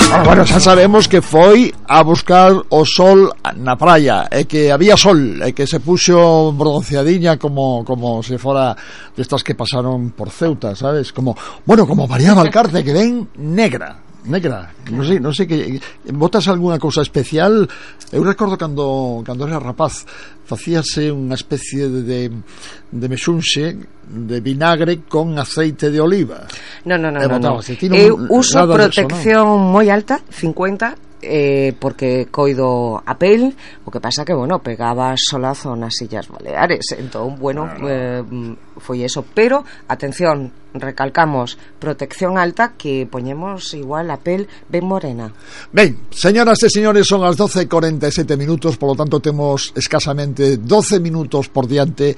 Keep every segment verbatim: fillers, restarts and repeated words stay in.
Ah, bueno, xa sabemos que foi a buscar o sol na praia, e que había sol, e que se puxo bronceadiña como como se fora destas que pasaron por Ceuta, sabes? Como, bueno, como María Valcarce, que ven negra. Negra, non sei, non sei que botas algunha cousa especial. Eu recordo cando cando era rapaz facíase unha especie de de mexunxe de vinagre con aceite de oliva. No, no, no, no, no. Eu uso protección ¿no? moi alta, cincuenta, eh, porque coido a pel. O que pasa que, bueno, pegaba solazo nas Illas Baleares, entón, bueno, eh, foi eso, pero atención, recalcamos, protección alta, que poñemos igual a pel ben morena. Ben, señoras e señores, son as doce e cuarenta e sete minutos, polo tanto temos escasamente doce minutos por diante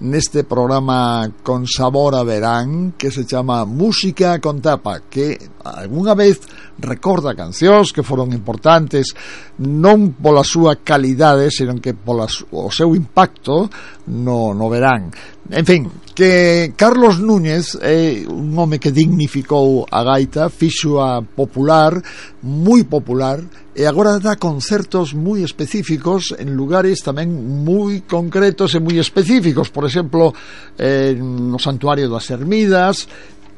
neste programa con sabor a verán, que se chama Música con Tapa, que algunha vez recorda cancións que foron importantes non pola súa calidade, senón que pola o seu impacto no, no verán. En fin, que Carlos Núñez é un home que dignificou a gaita, fixoa popular, moi popular, e agora dá concertos moi específicos en lugares tamén moi concretos e moi específicos, por exemplo, eh, no Santuario das Ermidas,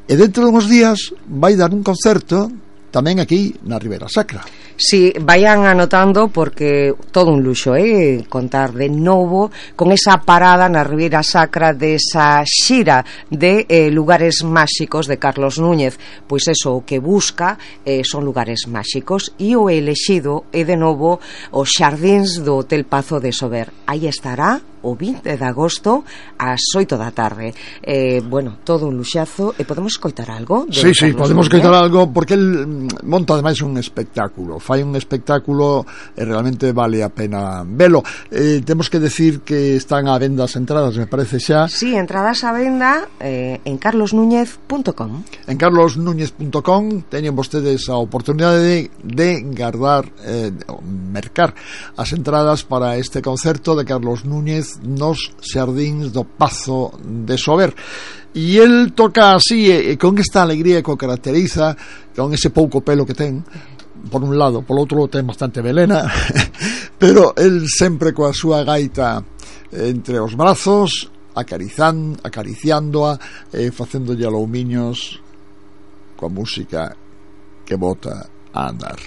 e dentro de uns días vai dar un concerto tamén aquí na Ribeira Sacra. Si, sí, vayan anotando, porque todo un luxo, eh, contar de novo con esa parada na Ribeira Sacra desa xira de eh, lugares máxicos de Carlos Núñez. Pois eso, o que busca eh, son lugares máxicos, e o elexido é de novo os xardíns do Hotel Pazo de Sober. Aí estará o vinte de agosto ás oito da tarde. Eh, bueno, todo un luxazo. E podemos escoitar algo? Sí, sí, podemos escoitar algo, porque el monta ademais un espectáculo, fai un espectáculo e realmente vale a pena velo. Eh, temos que decir que están á venda as entradas, me parece xa. Sí, entradas á venda eh, en carlos núñez punto com. En carlos núñez punto com teñen vostedes a oportunidade de, de guardar, eh, mercar as entradas para este concerto de Carlos Núñez nos xardíns do Pazo de Sober. E el toca así, e, e con esta alegría que o caracteriza, con ese pouco pelo que ten por un lado, por outro ten bastante velena, pero el sempre coa súa gaita entre os brazos, acarizan, acariciándoa, e facéndolle aloumiños coa música que bota a andar.